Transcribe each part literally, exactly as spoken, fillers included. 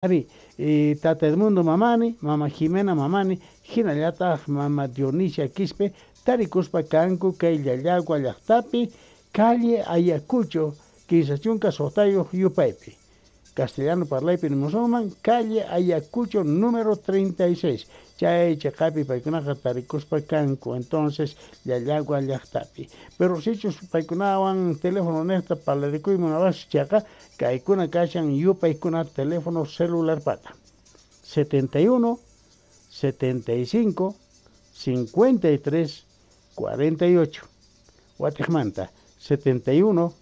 Ari, Tata Edmundo Mamani, Mama Jimena Mamani, hinallataq Mama Dionisia Quispe, tarikuspa kanku kay Llallagua llaqtapi, calle Ayacucho, kinsa chunka suqtayuq yupaypi. Castellano parlaypi nimusunman, calle Ayacucho número treinta y seis. Chay chiqapi paykunaqa tarikuspa kanku, entonces Llallagua llaqtapi. Pero sichus paykunawan teléfono niqta parlarikuyman munawasqa chayqa, kaykuna kashan yupaykuna teléfono celular pata. setenta y uno, setenta y cinco, cincuenta y tres, cuarenta y ocho. Watiqmanta, setenta y uno,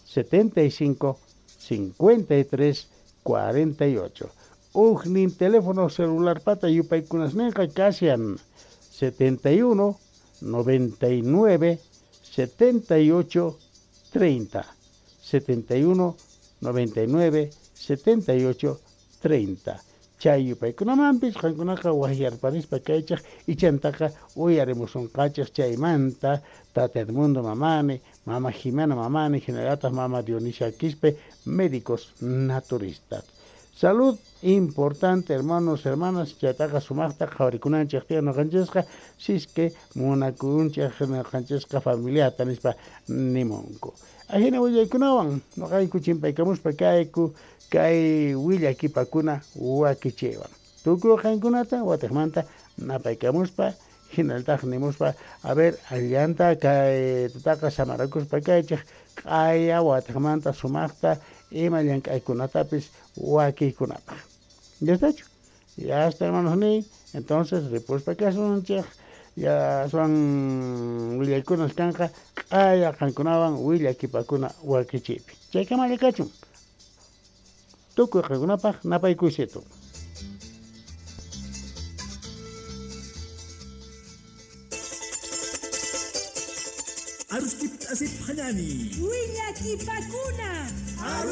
setenta y cinco, cincuenta y tres, cuarenta y ocho. Ujnin teléfono celular pata yupaykunasninqa kashan setenta y uno, noventa y nueve, setenta y ocho, treinta. setenta y uno, noventa y nueve, setenta y ocho, treinta. Chay yupaykunamanpis qankunaqa waqyarparispa kaychaq ichantaqa uyarimusunqachaq chaymanta Tata Edmundo Mamani, Mama Jimena Mamani, hinallataq Mama Dionisia Quispe, médicos naturistas. Salud importante, hermanos, hermanas, chaytaqa sumaqta qhawarikunanchik tiyan ñuqanchisqa, si es que munakunchik ñuqanchisqa familiata nispa nimunku. Ajina willaykunawan ñuqayku chimpaykamuspa kayku kay willakipakuna wakichiywan. Tukuy qankunata watiqmanta napaykamuspa hinallataq nimuspa, a ver, allanta kay tutaqa samarakuspa kaychik q'aya watiqmanta sumaqta ima llank'aykunatapis wakiykunapaq. ¿Ya está hecho? Ya está, hermanos ni. Entonces, ripuspa kasunchik, ya son willaykunas kanqa q'aya qankunawan willakipakuna wakichiypi. Chaykamalla kachun. Tukuy qankunapaq napaykuysitu. Arustip asip hanani. Willakipakuna. Aru